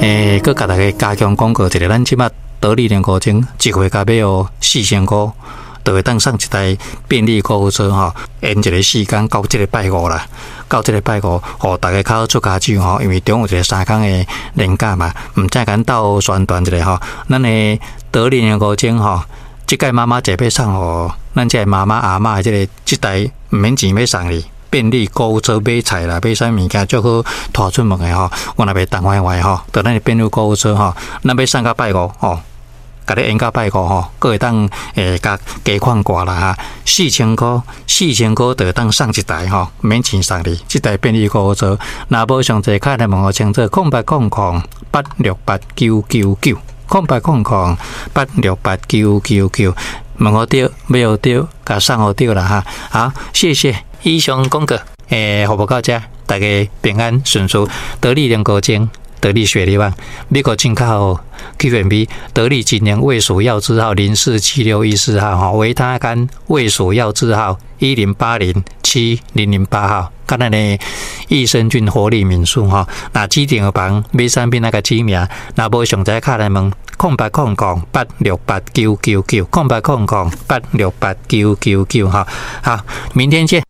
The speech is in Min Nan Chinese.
欸，閣共大家加強廣告一下，咱這馬得力聯購鐘一月到尾哦，4000箍就會當送一台便利購物車吼，延一个時間到這个拜五啦，到這个拜五，予大家較好出跤手吼，因為中有一个3工的連假嘛，毋才共鬥宣傳一下吼，咱的得力聯購鐘吼，這屆媽媽節欲送予咱這个媽媽阿嬤的這个這台毋免錢欲送你。便利購物車買菜啦，買啥物件足好拖出門的吼，我若袂重壞壞吼，就咱的便利購物車吼，咱欲送到拜五吼，共你延到拜五吼，閣會當會共加款掛啦哈，四千箍，四千箍就會當送一台吼，免錢送你，這台便利購物車，若無詳細敲來問予清楚，0800868999，0800868999，問予著，買予著，共送予著啦哈，好，謝謝。以上廣告，欸，服務到這，大家平安順遂，得力聯購鐘，得力雪梨灣，美國進口 Q&B，得力錦聯衛署藥字號047614號，吼，維他乾衛署藥字號10807008號，佮咱的益生菌活力敏素吼，若指定的房買產品愛共指名，若無詳細敲來問，0800868999，0800868999，吼，好，明天見。